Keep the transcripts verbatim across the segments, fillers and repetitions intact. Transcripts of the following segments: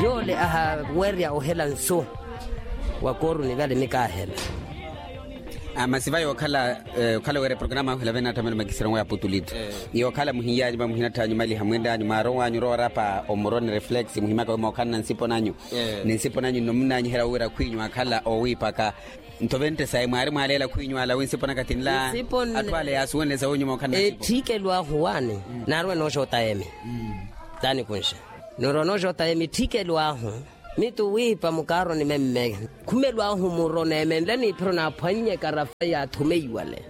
Yoole ahawerya ohela nsu wa kooruni vale mikaahela. Masi vaya okhala okhala wira eprograma ahu ela vene atthamelo makisira owa ya putulito. Yookhala muhinyanyu vamuhina atthanyu maliha mwinranyu mwaarow'anyu orowa orapa omuro ni reflex muhimaka wi mookhalana nsipo nanyu ni nsipo nanyu nno munnanyihela wira khwinyu akhala owiipaka. Nto vente sayi mwaari mwaaleela khwinyu ala wi nsipo naka tinla atthu ale yaasuwenle sa winyuma okhala na nsipo. Etthikelo ahu waani naarwe nooxoota emi taani kunxe nirwa nooxoota emi etthikelo ahu. Mitu wiipa mukaaroni memme khumelo ahu muro neemenle niiphiro naaphwannye ekarafa yaathumeiwale.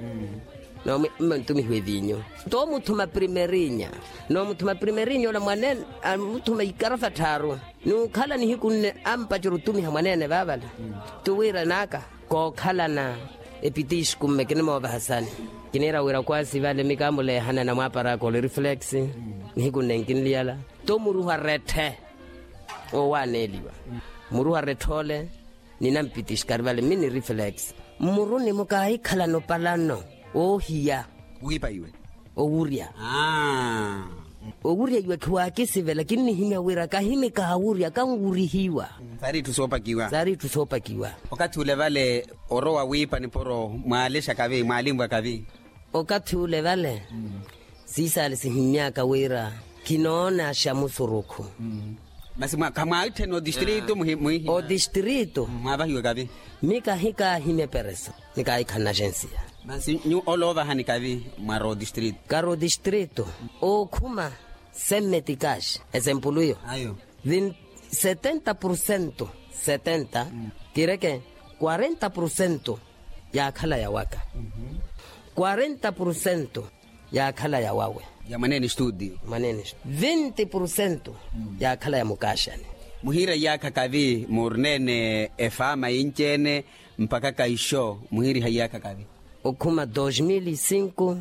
Noomwe mma ntumihiwa evinyu. Toomuthuma primerinya noomuthuma primerinya ola mwaneene amuthuma ikarafa tthaaru. N'ukhala nihiku nne ampacera otumiha mwaneene vaavale. Tuwiira n'aka kookhalana epitixku mme kinimoovahasani. Kiniira wira kwaasi vale mikaamulehana na mwaaparaka ole reflex nihiku nne nkinliyala. Tomuruha retthe owaneeliwa muruha retthe ole. Ninampitixkari vale mini reflex mmuruni mukaahikhalana opalano oohiya. Wiipa iwe owurya. Owurya iwe khiwaakisivela kinnihimya wira kahimikaha wurya kanwurihiwa. Saari itthu soopakiwa. Saari itthu soopakiwa. Okathi ule vale orowa wiipa nipuro mwaalexaka vi mwaalinvwaka vi. Okathi ule vale siisaale sihimy'aka wira kinoonaaxa musurukhu. Masi khamwaitthene otistritu muhimwihi otistritu. Mwaavahiwe kavi. Mi kahikaahimya epereso ni kaahikhalana axensiya. Masi nyuwo ole oovahani kavi mwara otistritu. Kari otistritu ookhuma semmeti kaxi esempulu iyo. Setenta pursentu setenta kireke kwarenta pursentu yaakhala yawaka. Kwarenta pursentu yaakhala yawawe. Ya mwaneene estudio. Mwaneene estudio vinti pursentu yaakhala ya mukaxani. Muhiira iyaakha kavi muurineene efaama yinci-ene mpakha kaixo muhiiriha iyaakha kavi. Okhuma dos mil e cinco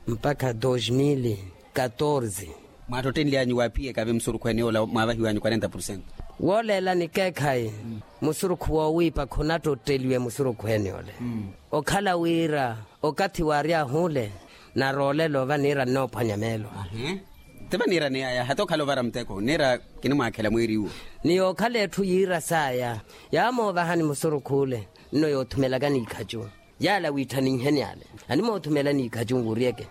mpakha dos mil e catorze. Mwaattottenly'anyu waaphiyekavi musurukhu ene yoola mwaavahiw'anyu quarenta pursentu. Wooleela nikeekhayi musurukhu woowiipa khonattotteliwe musurukhu ene yoola. Okhala wira okathi waary'ahu ole naroolela ova niira nnoophwanya meelo. Ti vaniira niyaya hata okhala ovara muteko niira kinimwaakhela mwiiriwo. Ni yookhala etthu yiira saaya yaamoovahani musurukhu ole nno yoothumelaka n'ikhacu. Yaala wiitthaninheni ale animoothumela n'ikhacu nwuryeke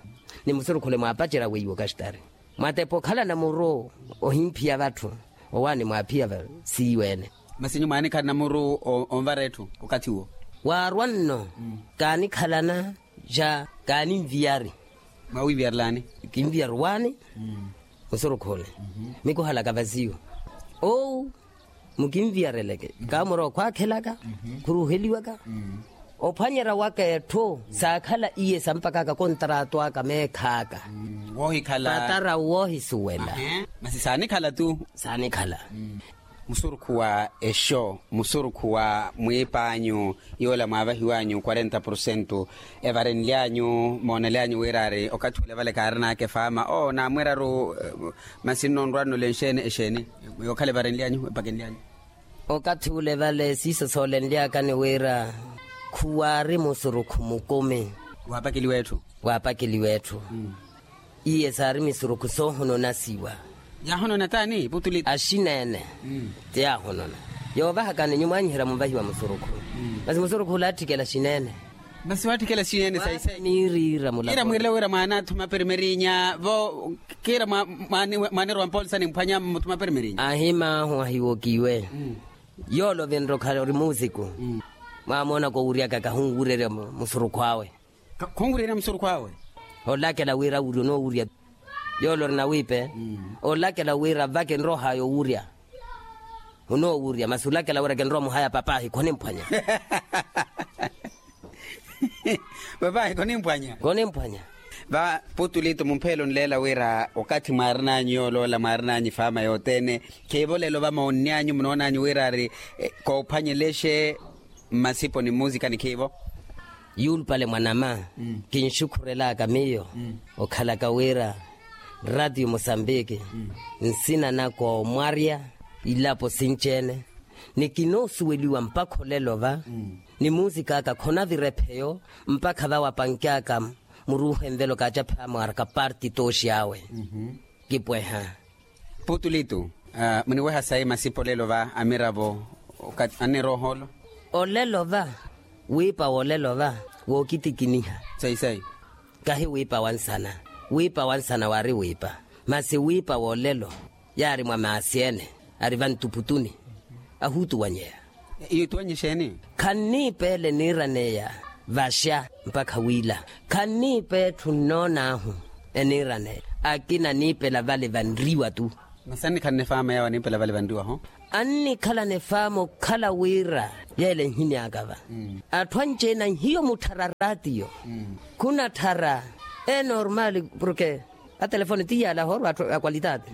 ni musurukhu ole mwaapacerya weiwo okaxitari. Mwatepa okhalana muru ohimphiya vatthu owaani mwaaphiya va siiwe-ene. Masi nyuwo mwaanikhalana muru onvara etthu okathi uwo. Waarwa nno kaanikhalana ja kaaninviyari. Mwaawiiviyarelani? Kinviyari waani musurukhu ole. Mikuhalaka vasiyo owu mukinviyareleke kaamuro khwaakhelaka khuruheliwaka. Ophwanyerya waka etthu saakhala iye sampakaka kontaratu aka meekhaaka. Woohikhala patara woohisuwela. Masi saanikhala tu. Saanikhala. Musurukhu wa exo musurukhu wa mwiip'anyu yoola mwaavahiw'anyu quarenta pursentu evarenly'anyu moonely'anyu wira ari okathi ule vale kaarin'aka efaama oo naamwiraru. Masi nno nrwa nno ole nxeeni exeeni yookhala evarenly'anyu epakenly'anyu. Okathi ule vale siiso soolenly'akani wira khuwaari musurukhu mukumi. Waapakeliwa etthu. Waapakeliwa etthu. Iye saari misurukhu soohononasiwa. Yaahonona taani putuli. Axineene ti yaahonona. Yoovahakani nyuwo mwaanyiherya muvahiwa musurukhu. Masi musurukhu ole aatthikela xineene. Masi waatthikela xineene sayi sayi. Miiriira mulapo ira mwiirela wira mwaanaathuma perimerinya vo kiira mwaanirowa mpoolisani mphwanya mmuthuma perimerinya. Ahimaahu ahiwokiwe. Yoole ovinre okhala ori muusiku. Mwaamoonaka owuryaka kahunwurerya musurukhu awe. Khunwurerya musurukhu awe. Olakela wira awurye onoowurya. Yoole ori nawiipe. Olakela wira vaka enroha yowurya. Onoowurya masi olakela wira kinrowa muhaya papahi khonimphwanya. Papahi khonimphwanya. Khonimphwanya. Va putulito mumphelo nleela wira okathi mwaarin'anyu yooloola mwaarin'anyu efaama yothene. Khiivo lelo va moonny'anyu munoon'anyu wira ari koophwanyelexe mmasipo ni mmusika ni khiivo. Yuulupale mwanama kinxukhurelaka miyo okhalaka wira ratio mosambiki nsina naka omwarya ilapo sinci-ene. Ni kinoosuweliwa mpakha olelo va ni muusik'aka khonavira epheyo mpakha va wapanky'aka muruuha envelo kaacaphama waraka parti tooxi awe. Kipweha. Putulitu. Muniweha sayi masipa olelo va amiravo? Annirooha olo. Olelo va wiipa wolelo va wookitikiniha. Sayi sayi. Kahi wiipa wa nsana. Wiipa wa nsana waari wiipa. Masi wiipa wolelo yaari mwa maasi ene ari vantuputuni ahuutuwanyeya. Iyo ituwanye exeeni? Khanniipa ele eniiraneya vaxa mpakha wiila. Khanniipa etthu nnoon'ahu eniiraneya. Akina aniipela vale vanriwa tu. Masi annikhala nifaama yawo aniipela vale vanriwa ho. Annikhala nifaama okhala wira yeele nhimyaka va. Atthu anci-ene anhiyo mutthara raatiyo. Khunatthara enormaali porke atelefoni ti yaala ahoorwa atthu a kwalitati.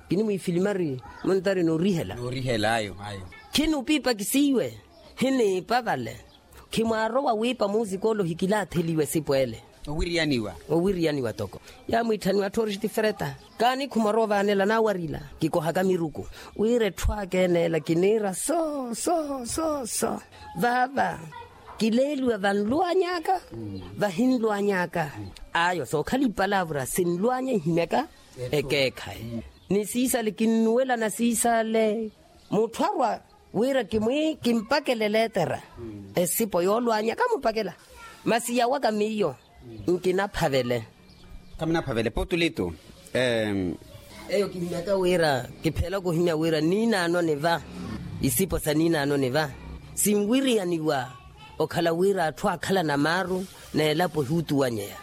Kinimwiifilimari muntari noorihela. Noorihela ayo ayo. Khinipiipa kisiiwe hiniipa vale. Khimwaarowa wiipa muusikoolo hikilaatheliwe esipo ele. Owiriyaniwa. Owiriyaniwa toko. Yaamwiitthaniwa atthu oorixitifereta. Kaani khumwarowa ovaanela naawarila kikohaka miruku. Wira etthu aka ene ela kiniira so so so so vaava. Kileeliwa vanlwany'aka vahinlwany'aka. Ayo sookhala ipalavura sinlwanya ihimyaka ekeekhayi. Ni siisale kinnuwelana siisale. Mutthu arwa wira kimwi kimpakele leetera esipo yoolwanya kamupakela. Masi yawaka miyo nkinaphavele. Kamunaphavele putulitu. Eyo kihimyaka wira kipheela kuhimya wira niinaano niva isipo sa niinaano niva sinwiriyaniwa. Okhala wira atthu aakhalana maaru n'elapo ehuutuwanyeya.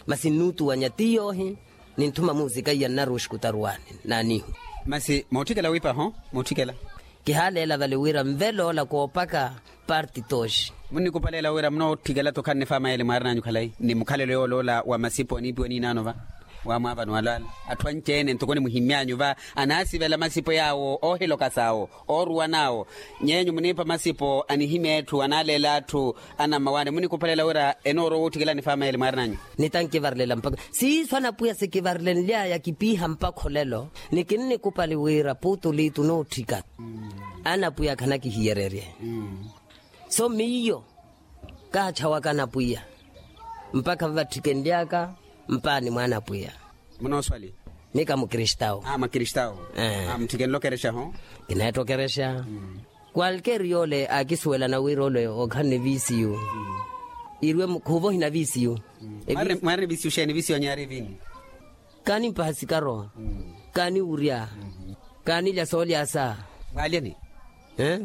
Masi nnuutuwanya ti yoohi. Ninthuma muusika iya nnari oxikutaruwani naanihu. Masi mootthikela wiipa ho mootthikela. Kihaaleela vale wira nveloola koopaka parti tooxi. Munnikupaleela wira munootthikela-tho khannifaama yeele mwaarin'anyu khalayi ni mukhalelo yooloola wa masipo aniipiwa niinaano va. Waamwaavani walaala atthu anci-ene ntoko nimuhimmy'anyu va anaasivela masipo yaawo oohilokas'awo ooruwan'awo. Nyeenyu muniipa masipo anihimya etthu anaaleela atthu anammawaani munikupalela wira enoorowa ootthikela nifaama yeele mwaarin'anyu. Nitankivarelela mpakha siiso anapwiya sikivarilenly'aya kipiiha mpakha olelo. Ni kinnikupali wira putulitu nootthika anapwiya khanakihiyererye. So miyo kaatthawaka anapwiya mpakha vavaththikenly'aka mpaani mwa anapwiya. Munooswali? Mika mukristawu. Mwa kristawu. Mutthike nlokerexa ho. Kineetta okerexa. Kwalkeeri yoole aakisuwelana wira ole okhala ni viisiyu. Irwe khuuva ohina viisiyu. Mwaari ni viisiyu xeeni viisiyu anyu yaari eviinyu? Kaanimpaha sikaro. Kaaniwurya. Kaanilya soolyasa. Mwaalyeni?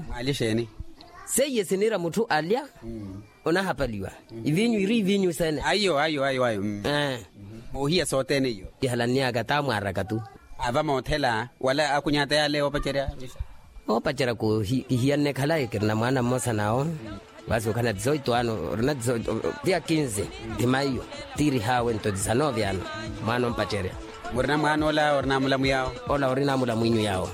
Mwaalye xeeni? Seiye siniira mutthu alya onahapaliwa. Iviinyu iri iviinyu sene. Ayo ayo ayo ayo. Moohiya sothene iyo. Kihalannyaka taamwaaraka tu. Ava moothela wala akunyaata yale oopacerya. Oopacerya kihiyanne khalayi kirina mwaana mmosa nawo. Vasi okhala na dizoito ano orina dizoito. Tiya kinzi ti maiyo tiirihaawe nto disanove ano. Mwaana ompacerya. Murina mwaana ola orina mulamu yawo. Ola orina mulamu inyu yawo.